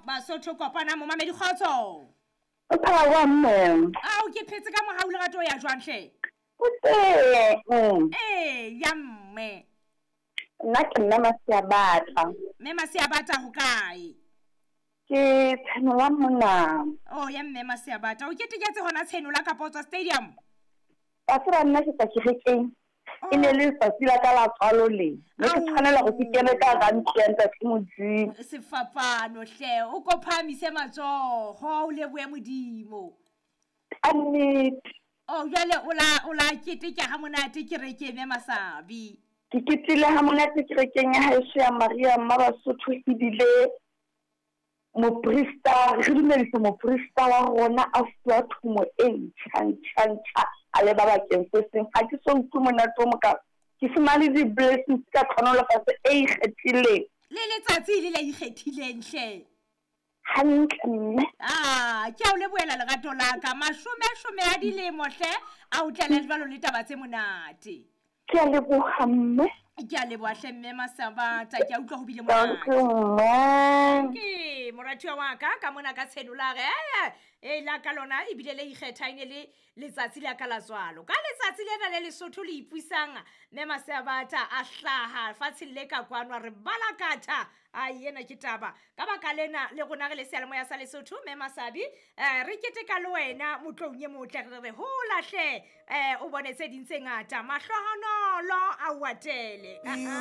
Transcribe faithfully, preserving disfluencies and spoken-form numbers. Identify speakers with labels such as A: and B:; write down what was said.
A: Basotho kopana momamedi kgotso.
B: O phela wa mme.
A: Ao ke phetse ka mohau lerato ya jwang hle?
B: O teng.
A: Eh ya mme.
B: Nna ke nna Masiabata.
A: Mme Masiabata ho kae?
B: Ke Tshenola mona.
A: Oh ya mme Masiabata. O keteketse hona Tshenola kapa o tswa stadium?
B: Wa tseba nna ke tswa kerekeng. E ne le letsatsi la ka la tswalo le. Ne ke tshwanela hore ke kene ka hara ntlo ya ntate Modimo.
A: Sefapano hle, o ko phahamise matsoho, o lebohe Modimo.
B: Ka nnete.
A: Oh jwale o la o la keteka ha monate kerekeng mme Masabi.
B: Ke ketile ha monate kerekeng ya haeso ya Maria Mma Basotho ebile moprista, re dumedisa moprista wa rona a fuwa thomo e ntjha ntjha ntjha a leba bakeng se seng. Ha ke so utlwe monate o mokalo. Ke fumane di-blessings ka tlhonolofatso e ikgethileng.
A: Le letsatsi le le ikgethileng hle.
B: Hantle mme.
A: Ah, ke a o lebohela lerato la ka. Mashome shome a dilemo hle, a o tlele jwalo le taba tse monate.
B: Ke a leboha mme.
A: Ke a leboha hle mme Masabata, ke a utlwa ho bile monate.
B: Thank you mme.
A: Ke moratuwa wa ka ka mona ka Tshenola re e la ka lona ebile le ikgetha ene le letsatsi la ka la tswalo. Ka letsatsi lena le Lesotho le ipusang mme Masabata a hlaha fatsheng le ka kwano re balakatha a yena ke taba. Ka baka lena le rona re le seyalemoya sa Lesotho mme Masabi eh re keteka le wena motlong e motle re re hola hle eh o bone tse ding tse ngata mahlohonolo a o atele.